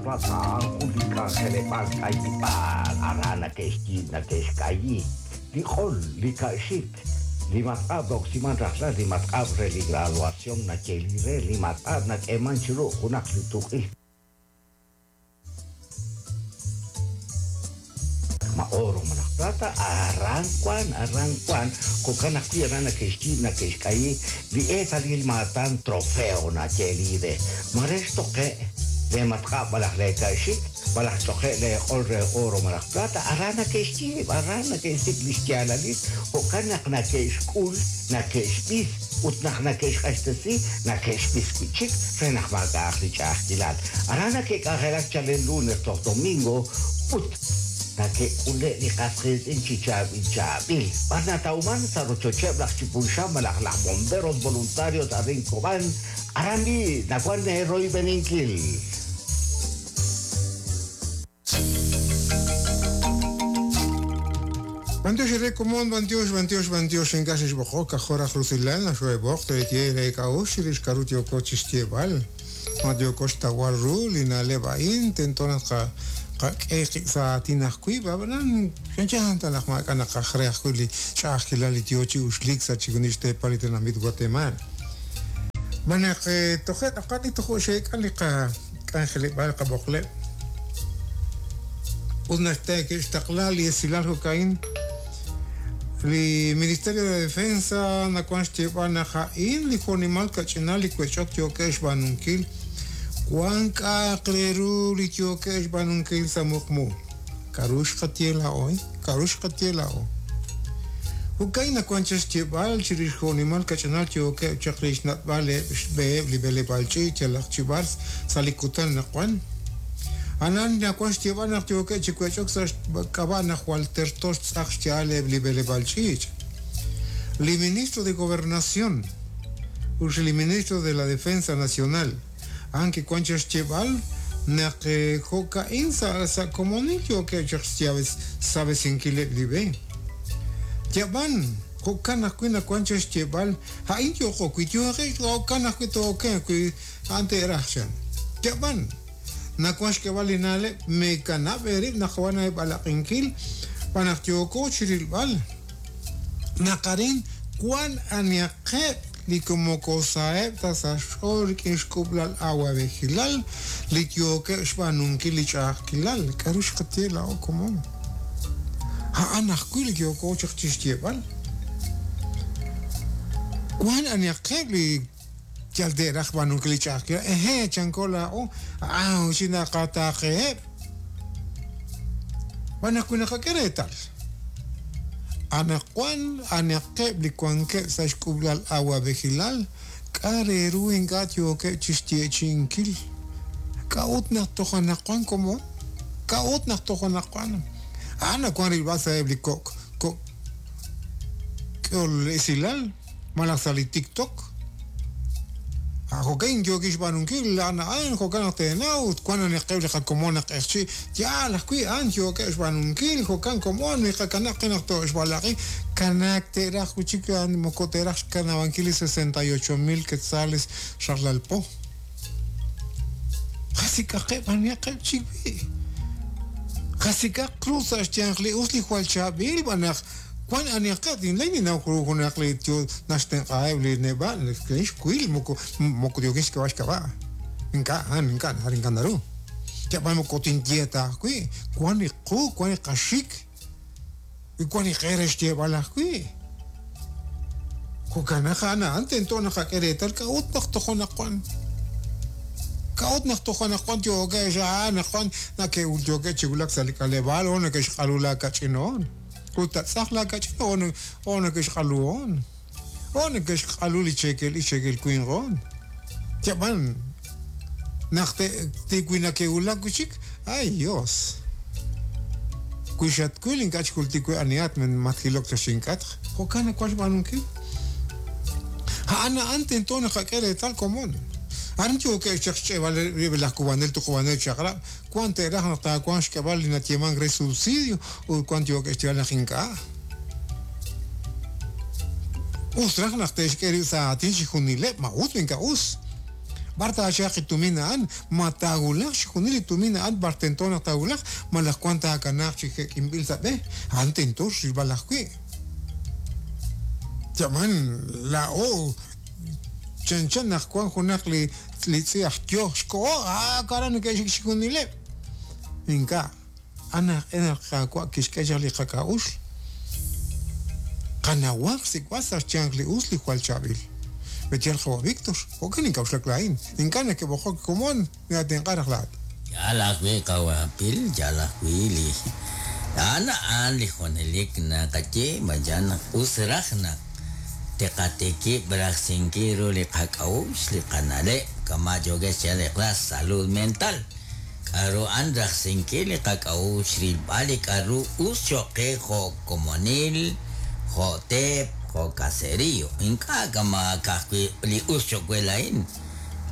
Plata a'an jun li k'anjeleb'aal k'ayib'aal aran nake'xyiib' nake'xk'ayi li q'ol, li ka'xik, li matq'ab' roksiman rajlal, li matq'ab' re li graduación nayeeli re, li matq'ab' nak'eeman chi ru junaq li tuq'il ma oro malaj plata, aran wan, aran wan, jo'kan ajwi' aran nake'xyiib' nake'xk'ayi li eetalil maatan trofeo nayeeli re. Mare xtoqe' lee matq'ab' malaj lee ka'xik, malaj xtoqe' lee q'ol re oro malaj plata, aran nake'xyiib', aran nake'xsik' li xyaalalil, jo'kan naq nake'xk'ul, nake'xb'is, ut naq nake'xq'axtesi, nake'xb'is wi' chik re naq maak'a'aq li ch'a'ajkilal. Aran nake'k'anjelak chalen lunes toj domingo ut nake'k'ule' li qas qiitz'in chi chaab'il chaab'il. B'ar natawman? Sa' rochocheb' laj Chipulxam malaj laj Bomberos Voluntarios arin Cobán, Aran b'i' nawank eeroyb'eninkil. B'antiox eere komon, b'antiox, b'antiox, b'antiox, ink'a' xexb'oqok, k'ajo' raj rusilal naq xoo'eb'oq teeye eere k'a'uxl chirix k'aru yooko chixyeeb'al. Ma yooko xtawb'al ru li na'leb' a'in, tento naq tqak'e qib' sa' aatin ajwi', ab'anan chanchan ta naq maak'a' naqaj re ajwi' li ch'a'ajkilal li yo chi uxliik sa' chixjunil xteepal li tenamit Watemaal. Xb'aan naq toje' tz'aqal li tojo' xeek'a li qak'anjeleb'aal qab'oqleb' ut naq ke'xtaqla li esilal jo'ka'in, li Ministerio de Defensa nawank xyeeb'al naq a'in li jo'nimal kach'inal li wech'ok yookeb' xb'aanunkil wank k'a'aq re ru li yookeb' xb'aanunkil sa' muqmu. K'aru xqaye laa'o? K'aru xqaye laa'o? Jo'ka'in nawank chaq xyeeb'al chirix jo'nimal kach'inal yookeb' chaq li xnat'b'al eb' xb'eheb' li b'eleb'aal ch'iich' yalaq chi b'ar sa' li kutan naqwan. A'an nawank xyeeb'al naq yookeb' chi wech'ok sa' xk'ab'a' naq jwal terto xtz'aq xya'al eb' li b'eleb'aal ch'iich'. Li Ministro de Gobernación ut li Ministro de la Defensa Nacional, A'an kiwank chaq xyeeb'al naq jo'ka'in sa' komonil yookeb' chaq xsab'esinkileb' li b'e. Yab'an, jo'kan ajwi' nawank chaq xyeeb'al, a'in yooqo wi' yooqex jo'kan ajwi' too'okenq wi a'an te'raj, chan. Yab'an, nawank xk'eb'al li na'leb' meekanab' eerib' naq wan eeb'alaq'inkil xb'aan naq yooko chi rilb'al naq arin wank anihaqeb' li moko saheb' ta sa' xch'ool rik'in xk'ub'lal awab'ejilal li yookeb' xb'aanunkil li ch'a'ajkilal. K'aru xqaye laa'o komon? A'an ajwi' li yooko chaq chi xyeeb'al. Wank anihaqeb' li yal te'raj xb'aanunkil li ch'a'ajkilal, Ehe, chanko laa'o, a'an chi naqataaqeheb'. Xb'aan naq wi naqak'e reetal, anaqwan anaqeb' li wankeb' sa' xk'ub'lal awab'ejilal, k'a' re ru ink'a' yookeb' chi xyeechi'inkil? K'a'ut naq toj anaqwan komon? K'a'ut naq toj anaqwan? A'an nawank rilb'al sa'eb' li kok' kok' k'ehol esilal. Malaj sa' li TikTok. A Jo'kan yookin xb'aanunkil, a'an a'an, jo'kan naq teenaw, ut wank anaqeb' li qakomon naq q'eqchi', yaal ajwi' a'an yookeb' xb'aanunkil, jo'kan komon, miqakanab' qib' naq too'xb'alaq'i, kanaak te'raj wi' chik a'an moko te'raj xkanab'ankil li 68 mil quetzales rajlal po. Qasik'aqeb' anihaqeb' chik wi'. Qasik'aq ru sa' xyanq li us li jwal chaab'il b'an naq Wan anihaqeb' tinlay ninnaw ru junaq li yo naxtenq'aheb' li neb'a' laa'in xwil moko moko yookin xk'eb'al xk'ab'a'. Ink'a' a'an ink'a' naru ink'a' naru. Yab'an moko tinye ta ajwi', wan li qu, wan li qaxik, wan li qe re xyeeb'al ajwi'. Jo'kan naq a'an a'an tento naqak'e reetal k'a'ut naq toj anaqwan. K'a'ut naq toj anaqwan yookeb' anaqwan nake'yookeb' chi wulak sa' li k'aleb'aal o nake'xq'alu laakach'in hoon. Ut tatz'aq laakach'in o neke'xq'alu hoon. O neke'xq'alu li cheekel ixq cheekel winq hoon. Yab'an naq wi nake'wulak wi' chik, ay Dios! Wi xatwil ink'a' chik jultik we anihat matjilok chaq chink'atq. Jo'kan nawank xb'aanunkil. A'an a'an tento naqak'e reetal komon. Arin yookeb' chaq xch'e'b'al rib' laj k'uub'anel tuqub'anel chaq'rab' Wank te'raj naq taawanq xk'eb'al li nayeemank re subsidio ut wank yookeb' xyeeb'al naq ink'a'. Us raj naq te'xk'e rib' sa' aatin chixjunileb' ma us ma ink'a' us. B'ar taachalq li tumin a'an? Ma taawulaq chixjunil li tumin a'an b'ar tento naq taawulaq malaj wan taakanaaq chi jek'inb'il sa' b'e? A'an tento xrilb'al ajwi'. Yaman laa'o chanchan naq wan junaq li li tz'i aj yo xkoho a aran neke'xik chixjunileb'. Ink'a'. Anaq naq Qaawa' kixk'e chaq li qak'a'uxl. Qanawaq xsik'b'al sa' xyanq li us li jwal chaab'il. B'etyal qawa' Víctor, jo'kan ink'a'uxlak laa'in, ink'a' neke'b'oqok komon ninatenq'a raj laa'at. Yaal ajwi' qawa' Pil, yaal ajwi' li a'an a'an li junelik naqaye ma yaal naq us raj naq tiqatikib' rajsinkil ru li qak'a'uxl, li qana'leb', kama' yookeb' xyeeb'al li qlas, salud mental. K'a'ru a'an rajsinkil li qak'a'uxl rilb'al li k'a'ru us cho'q qe jo' komonil, jo' teep, jo' caserío. Ink'a' kama' ka'ajwi' li us cho'q we laa'in.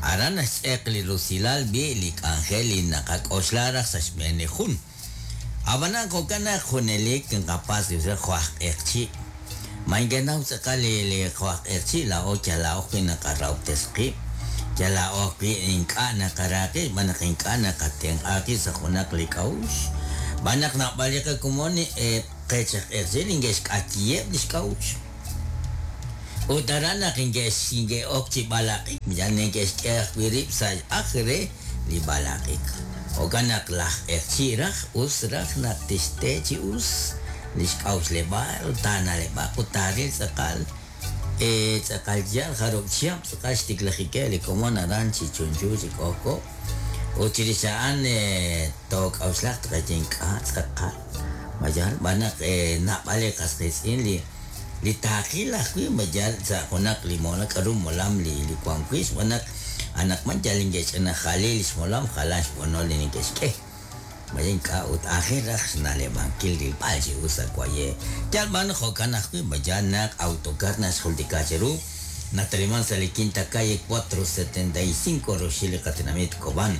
Aran naxtz'eq li rusilal b'i' li k'anjel li naqak'oxla raj sa' xb'een li jun. Ab'anan jo'kan naq junelik nqapatz' li usilal jo' aj q'eqchi'. Ma inkenaw tz'aqal li li jo' aj q'eqchi' laa'o yal laa'o ajwi' naqarahob'tes qib', yal laa'o ajwi' ink'a' naqara qib' xb'aan naq ink'a' naqatenq'a qib' sa' junaq li k'a'uxl. Xb'aan naq naab'al li qakomon eb' qech aj q'eqchi' li neke'xk'ayiheb' li xk'a'uxl. Ut aran naq inke'ok chi b'alaq'ik, yal neke'xk'e ajwi' rib' sa' aj re li b'alaq'ik. Jo'kan naq laj q'eqchi' raj us raj naq tixte chi us li xk'a'uxleb'aal ut taana'leb'aq ut taaril tz'aqal tz'aqal yaal jarub' chihab' tz'aqal xtiklajikeb' li komon aran chi chunchu chi k'ojk'o. Ut chirix a'an took'a'uxlaq tqaye ink'a' tz'aqal ma yaal xb'aan naq naab'al li qas qiitz'in li li taaqil ajwi' ma yaal sa' junaq li molam k'a'ru molam li li wan wi' xb'aan naq anaqwan yal neke'xch'inajali li xmolam jalan xb'onol li neke'xk'e. Ma ink'a' ut aajel raj xna'leb'ankil rilb'al chi us sa' waye'. Yal b'an jo'kan ajwi' ma yaal naq autocar naxjultika cheru nataliman sa' li Quinta Calle 475 roxil li qatenamit Cobán.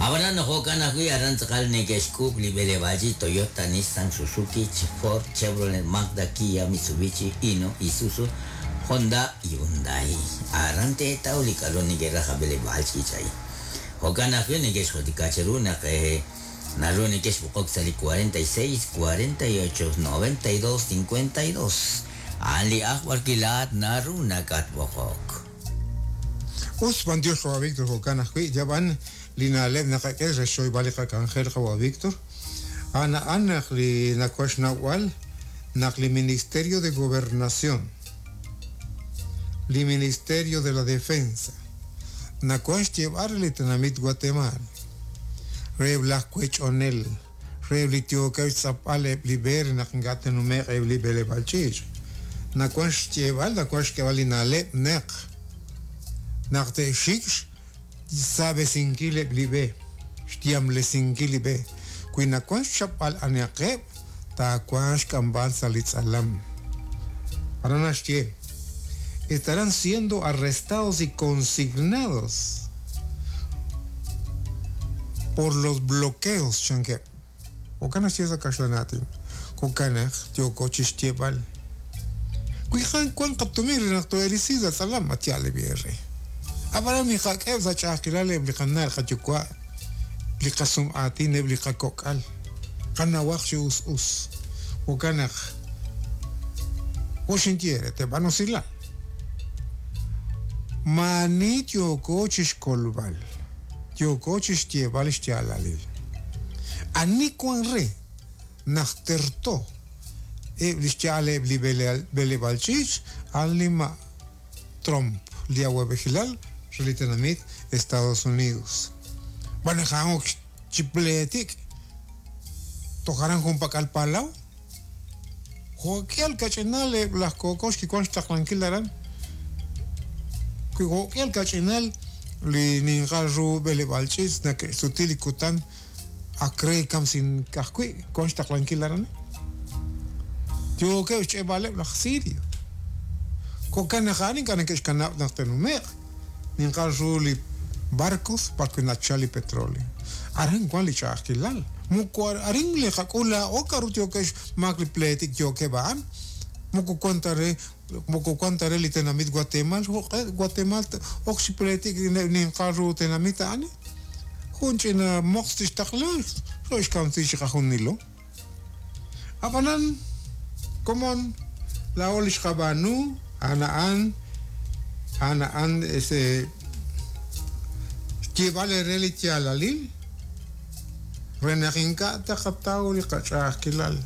Ab'anan jo'kan ajwi' aran tz'aqal neke'xk'uub' li b'eleb'aal chi Toyota, Nissan, Suzuki, Ford, Chevrolet, Mazda, Kia, Mitsubishi, Hino, Isuzu, Honda, Hyundai. Aran teetaw li k'a'ru neke'raj a b'eleb'aal ch'iich' a'in. Jo'kan ajwi' neke'xjultika cheru naq naru neke'xb'oqok sa' li 46 48 92 52. A'an li aj b'arwi' laa'at naru nakatb'oqok. Us b'antiox qawa' Víctor jo'kan ajwi' yab'an li na'leb' naqak'e re xchoyb'al li qak'anjel qawa' Víctor. A'an a'an naq li nawank xnawb'al naq li Ministerio de Gobernación, li Ministerio de la Defensa nawank xyeeb'al re li tenamit Guatemala, reheb' laj wech'onel, reheb' li yookeb' xtz'apb'al eb' li b'e re naq ink'a' te'nume'q eb' li b'eleb'aal ch'iich'. Nawank xyeeb'al, nawank xk'eeb'al li na'leb' naq naq te'xik xsaab'esinkil eb' li b'e, xyamlesinkil li b'e. Wi nawank xchapb'al anihaqeb', taawanq xk'amb'al sa' li tz'alam. Aran naxye, estarán siendo arrestados y consignados por los bloqueos chankeb'. Jo'kan naxye sa' kaxlan aatin. Jo'kan naq yooko chixyeeb'al. Wi wan qatumin re naq too'elisi sa' tz'alam, at yaal li b'e. Ab'anan miqak'eheb' sa' ch'a'ajkilal eb' li qana' qayuwa', li qasum'aatin eb' li qakok'al. Qanawaq chi us us. Jo'kan naq jo' xinye re teeb'an usilal. Maani yooko chixkolb'al, yooko chixyeeb'al xyaalalil. Ani wan re naq terto eb' li xya'al eb' li b'eleb'aal ch'iich' a'an li ma' Trump, li awab'ejilal re li tenamit Estados Unidos. Xb'aan naq a'an ok chi pleetik toj aran junpak'al palaw. Jo'k'ihal kach'inal eb' laj kookox kiwank xtaqlankil aran. Wi jo'k'ihal kach'inal li ninqal ru b'eleb'aal ch'iich' nake'xsuti li kutan ak re kamsink ajwi' wank xtaqlankil aran. Yookeb' xch'eeb'aleb' laj Sirio. Jo'kan naq a'an ink'a' neke'xkanab' naq te'nume'q ninqal ru li barcos b'arwi' nachal li petróleo. Aran wan li ch'a'ajkilal. Moko arin li qak'ul laa'o k'a'ru yookeb' xmaak li pleetik yookeb' a'an. Moko wan ta re moko wan ta re li tenamit Guatemal jo'q'e Guatemal ok chi pleetik ninqal ru tenamit a'an jun ch'ina moqs tixtaqla xo'xkamsi chi qajunilo. Ab'anan komon laa'o li xqab'aanu a'an a'an a'an a'an ese xyeeb'al eere li yaalalil re naq ink'a' taqataw li qach'a'ajkilal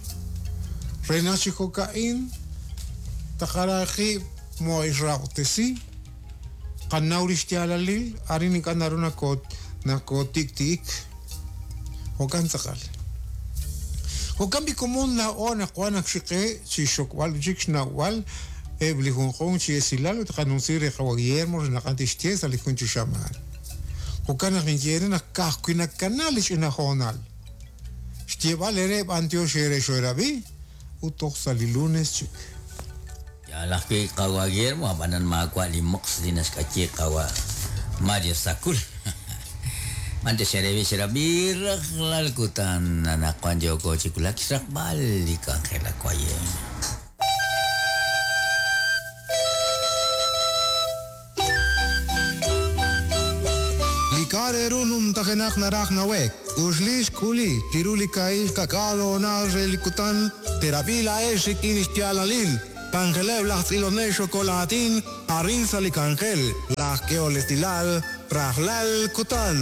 re naq chi jo'ka'in taqara qib' moo'ixrahob'tesi qanaw li xyaalalil arin ink'a' naru nakootikti'ik jo'kan tz'aqal. Jo'kan b'i komon laa'o naq wan naq xiqe chi xokb'al chik xnawb'al eb' li junjunq chi esilal ut qanunsi re qawa Guillermo re naq tixye sa' li jun chi xamaan. Jo'kan naq ninye re naq ka'ajwi' nakana li ch'ina hoonal. Xyeeb'al eere b'antiox eere xoerab'i ut toj sa' li lunes chik. Yal ajwi' qawa Guillermo ab'anan maawa' li moqs li naxk'ayi qawa Mario Sacul. Mante xerebi xerab'i rajlal kutan anaqwan yooko chi wulak xraqb'al li k'anjelak waye. Li k'a' re ru numtajenaq naraj nawek. Uxlix k'uli chiru li ka'il kak'aal hoonal re li kutan terab'i la'ex rik'in xyaalalil. K'anjeleb' laj tz'ilonel xokolaatin arin sa' li k'anjel laj k'ehol esilal rajlal kutan.